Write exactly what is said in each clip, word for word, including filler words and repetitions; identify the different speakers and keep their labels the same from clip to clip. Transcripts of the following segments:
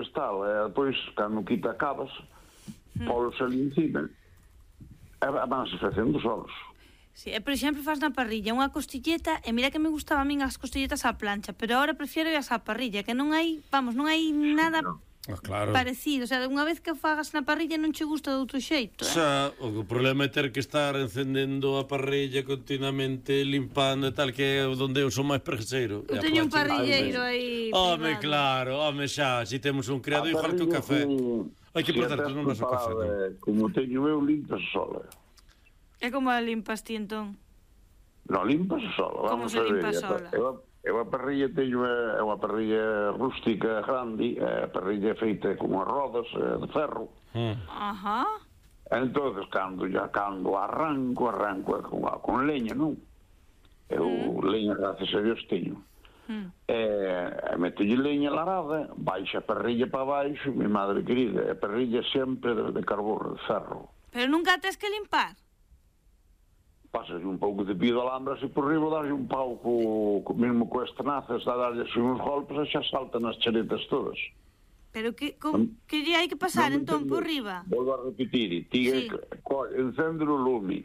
Speaker 1: pois tal, e depois, cando quita acabas, polos ali encima, e vanse facendo solos.
Speaker 2: Sí, e por exemplo, faz na parrilla unha costilleta, e mira que me gustaba a min as costilletas á plancha, pero agora prefiero as á parrilla, que non hai, vamos, non hai nada... No.
Speaker 3: Ah, claro.
Speaker 2: Parecido, o sea, unha vez que fagas na parrilla non che gusta de outro xeito, eh?
Speaker 3: Xa, o problema é ter que estar encendendo a parrilla continuamente, limpando e tal, que é onde eu son máis preguiceiro.
Speaker 2: Eu teño un parrilleiro aí.
Speaker 3: Home, claro, home, xa, si temos un criado igual que o café. Hai que portar non nos o café, non?
Speaker 1: Como teño eu, limpas sola.
Speaker 2: É como a limpas ti, entón?
Speaker 1: Non, limpas sola.
Speaker 2: Como se limpa sola?
Speaker 1: Eu a parrilla teño é unha parrilla rústica grande, a parrilla feita con as rodas de ferro.
Speaker 2: Ajá.
Speaker 1: Entonces, cando ya cando arranco, arranco con, con leña, non? Eu leña, gracias a Dios, teño. E metelle leña larada, baixa a parrilla para baixo, mi madre querida, a parrilla sempre de, de carbón, de ferro.
Speaker 2: Pero nunca tes que limpar?
Speaker 1: Pasas un pouco de pío de alambre así por riba, darlle un pau co, co mesmo coas tenazas, a darlle así uns golpes e xa saltan as charetas todas.
Speaker 2: Pero que, con, que lle hai que pasar no entón por riba?
Speaker 1: Volvo a repetir, ti sí. Encende o lume,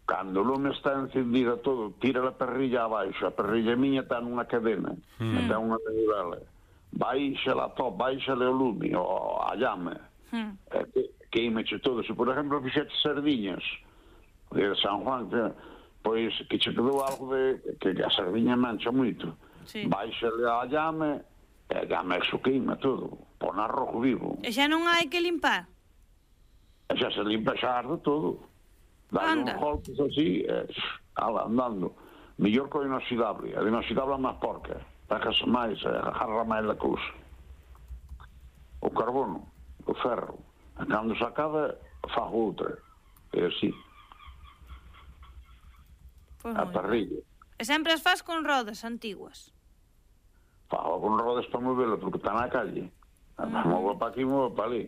Speaker 1: cando o lume está encendida todo, tira a parrilla abaixo, a parrilla miña está nunha cadena, mm. está unha manivela, baixa la top, baixa o lume, o a llama, mm. que, queimeche todo. Se por exemplo fixete sardiñas de San Juan, que, pois que che quedou algo de que a sardiña mancha moito, sí. Baixa-le a llame e a llame exo queima todo, pon arrojo vivo.
Speaker 2: E xa non hai que limpar?
Speaker 1: E xa se limpa, xa arde todo. Dá uns golpes así, e, ala, andando. Mellor co inoxidable, a inoxidable é máis porca, pegase máis, agarra máis a cousa. O carbono, o ferro, e cando se acaba, fa outra, e así. Pues a parrilla.
Speaker 2: E sempre as faz con rodas antiguas?
Speaker 1: Fago con rodas para movela, porque está na calle. Mm. Mova para aquí, mova para ali.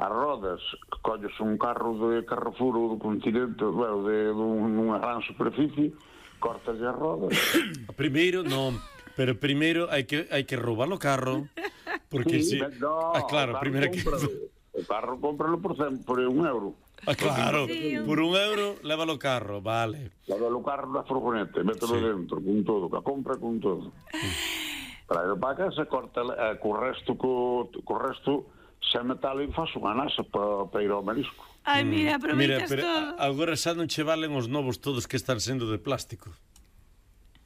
Speaker 1: As rodas, colles un carro de Carrefour ou do continente, bueno, de, de unha gran superficie, cortas as rodas.
Speaker 3: Primeiro, non, pero primeiro hai que hai que roubar o carro, porque
Speaker 1: sí,
Speaker 3: si...
Speaker 1: No,
Speaker 3: ah, claro, primeiro que...
Speaker 1: O carro cómpralo por, por un euro.
Speaker 3: Ah, claro, sí, por un euro lévalo o carro, vale.
Speaker 1: Lévalo o carro na furgoneta, mételo sí. dentro, con todo, que a compra con todo. Traio para casa, corta, eh, co resto, co, co resto, se metal e faz unha nasa para pa ir ao marisco.
Speaker 2: Ai, mira, aproveitas
Speaker 3: mira,
Speaker 2: todo.
Speaker 3: Agora xa non che valen os novos todos que están sendo de plástico.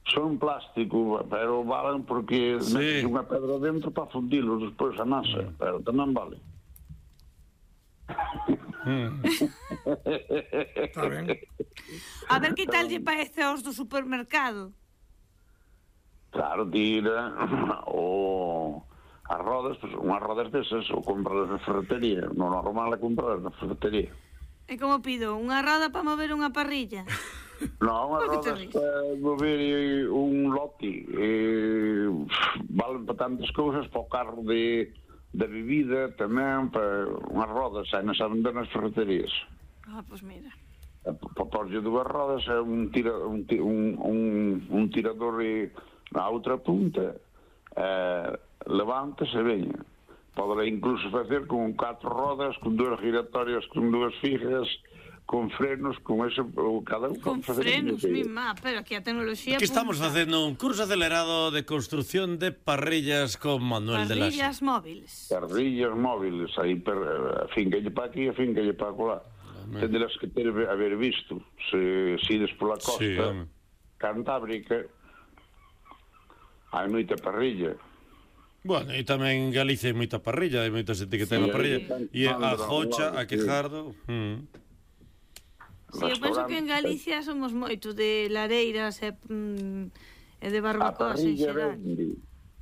Speaker 1: Son plástico, pero valen porque sí. metes unha pedra dentro para fundilos despois a nasa, mm. pero tamén vale.
Speaker 3: Mm.
Speaker 2: Está ben. A ver que tal lle parece aos do supermercado.
Speaker 1: Claro, tira o as rodas, pues, unhas rodas desas ou compras na ferretería, non normal é comprar na ferretería.
Speaker 2: E como pido? Unha roda para mover unha parrilla?
Speaker 1: Non, unhas rodas para mover un lote, eh, valen para tantas cousas, para o carro de de bebida tamén, para unhas rodas aí nas a vender nas ferreterías.
Speaker 2: Ah, pois pues mira.
Speaker 1: Para porlle dúas rodas é un, tira, un, un, un, un tirador na outra punta, eh, levanta e veña. Poderá incluso facer con catro rodas, con dúas giratorias, con dúas fijas, con frenos, con ese, cada un
Speaker 2: con frenos, mi má, pero aquí a tecnoloxía...
Speaker 3: Aquí estamos facendo un curso acelerado de construcción de parrillas con Manuel de Laxe.
Speaker 2: Parrillas móviles.
Speaker 1: Parrillas móviles, aí, per, a fincalle pa aquí, a fincalle pa colá. Tenderás que ter haber visto, se, se ides pola costa sí, cantábrica, hai moita parrilla.
Speaker 3: Bueno, e tamén en Galicia hai moita parrilla, hai moita xente que ten sí, a parrilla. E a Jocha, a Quejardo... Mm.
Speaker 2: Sí, eu penso que en Galicia somos moito de lareiras e, mm, e de barbacoas en xeral.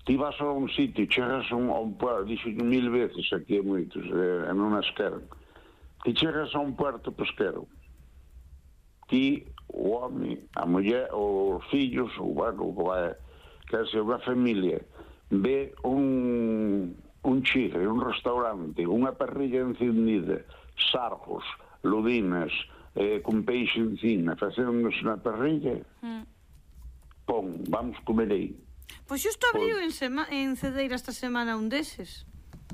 Speaker 1: Ti vas a un sitio, chegas a un, a un puerto, dixo mil veces aquí hai moitos, eh, en unha esquerda. Ti chegas a un puerto pesquero. Ti, o home, a muller, os fillos, o bueno, o vai, que se unha familia, ve un, un chigre, un restaurante, unha parrilla encendida, sargos, ludinas, eh, con peixe encima, facéndonos na parrilla, mm. pon, vamos comer aí.
Speaker 2: Pois xusto abriu en, sema, en Cedeira esta semana un deses.